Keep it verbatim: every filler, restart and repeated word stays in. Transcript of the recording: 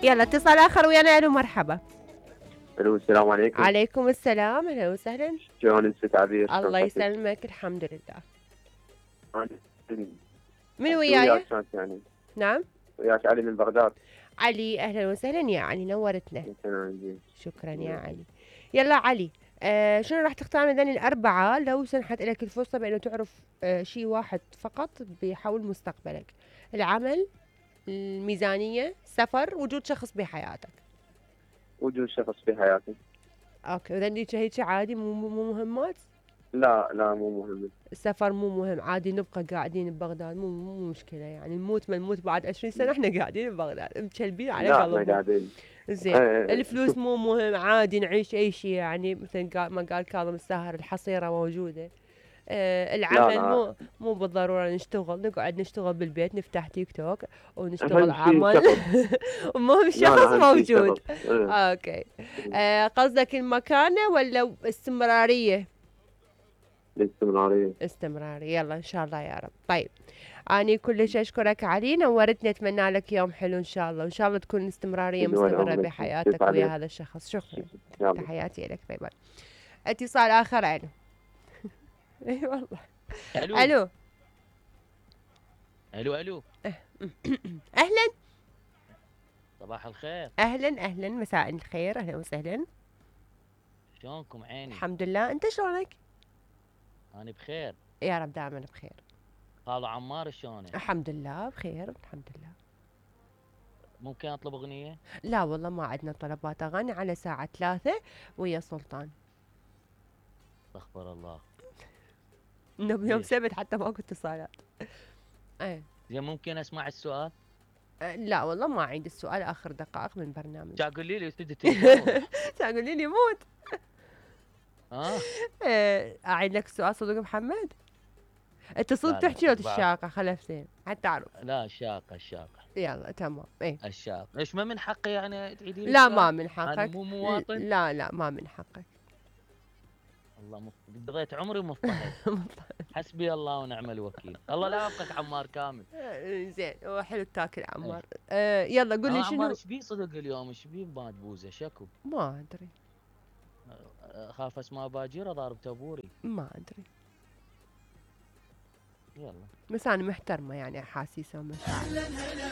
يلا اتصال اخر ويانا. الو مرحبا. الو السلام عليكم. عليكم السلام، اهلا وسهلا. شلون انت عبير؟ الله يسلمك، الحمد لله. أنا من وياك وياي؟ كانت يعني نعم وياك علي من بغداد. علي، اهلا وسهلا يا علي، نورتنا. تمام. شكرا يا علي. يلا علي، آه شنو راح تختار من ذني الأربعة لو سنحت لك الفرصة بأنه تعرف آه شيء واحد فقط بيحول مستقبلك؟ العمل، الميزانية، سفر، وجود شخص بحياتك. وجود شخص في حياتي. اوكي، اذا هيك هيك عادي، مو مو مهمات. لا لا مو مهم. السفر مو مهم، عادي نبقى قاعدين ببغداد، مو مو مشكلة يعني، نموت ما نموت بعد عشرين سنة احنا قاعدين ببغداد مكلبين على لا احنا قلبنا. قاعدين. زين، ايه الفلوس مو مهم، عادي نعيش اي شيء يعني، مثل قال ما قال كاظم الساهر الحصيرة موجودة. آه لا العمل لا مو مو بالضرورة نشتغل، نقعد نشتغل بالبيت، نفتح تيك توك ونشتغل اهم شيء عمل. شغل. المهم لا الشخص لا اهم شيء موجود. شغل. ايه. اوكي. آه قصدك المكانة ولا استمرارية؟ الاستمرارية. استمرارية، يلا ان شاء الله يا رب. طيب، اني كلش اشكرك علي، نورتني، اتمنى لك يوم حلو ان شاء الله، وان شاء الله تكون استمرارية دول مستمرة عمرك كيف بحياتك ويا عليك؟ هذا الشخص. شكرا. يلا. تحياتي لك. باي باي. اتصال اخر. الو. اي والله. الو الو. الو الو اهلا. صباح الخير. اهلا اهلا، مساء الخير، اهلا وسهلا. شلونكم عيني؟ الحمد لله، انت شلونك؟ انا بخير. يا رب دائما بخير. خالو عمار شلونه؟ الحمد لله بخير، الحمد لله. ممكن اطلب اغنيه؟ لا والله ما عندنا طلبات اغاني على ساعة ثلاثة ويا سلطان. استغفر الله. انه بيوم ليش؟ سبت حتى ماكو اتصالات. ايه. زين ممكن اسمع السؤال؟ أه لا والله ما عندي السؤال، اخر دقائق من برنامج. شا قولي لي استدي التليفون. تقولي لي موت. اه أه اعيد لك السؤال صدق محمد؟ انت صدق لا لا تحكي لو بعد. الشاقة خلفتين حتى تعرف. لا الشاقه الشاقه يلا تمام. ايه. الشاقه. ايش ما من حقي يعني تعيدي لي لا السؤال؟ ما من انا حقك. مو مواطن. لا لا ما من حقك. الله مف... قضيت عمري مضطهد. حسبي الله ونعم الوكيل. الله لا يوفقك عمار كامل. آه، زين، هو حلو تاكل عمار. إيه. آه يلا قول لي آه عمار شنو. ايش بيه صدق اليوم؟ ايش بيه بماد بوزه شكو؟ ما ادري. خاف اسماء باجير ضارب تبوري. ما ادري. يلا. بس انا محترمه يعني، احاسيسه ومشاعر.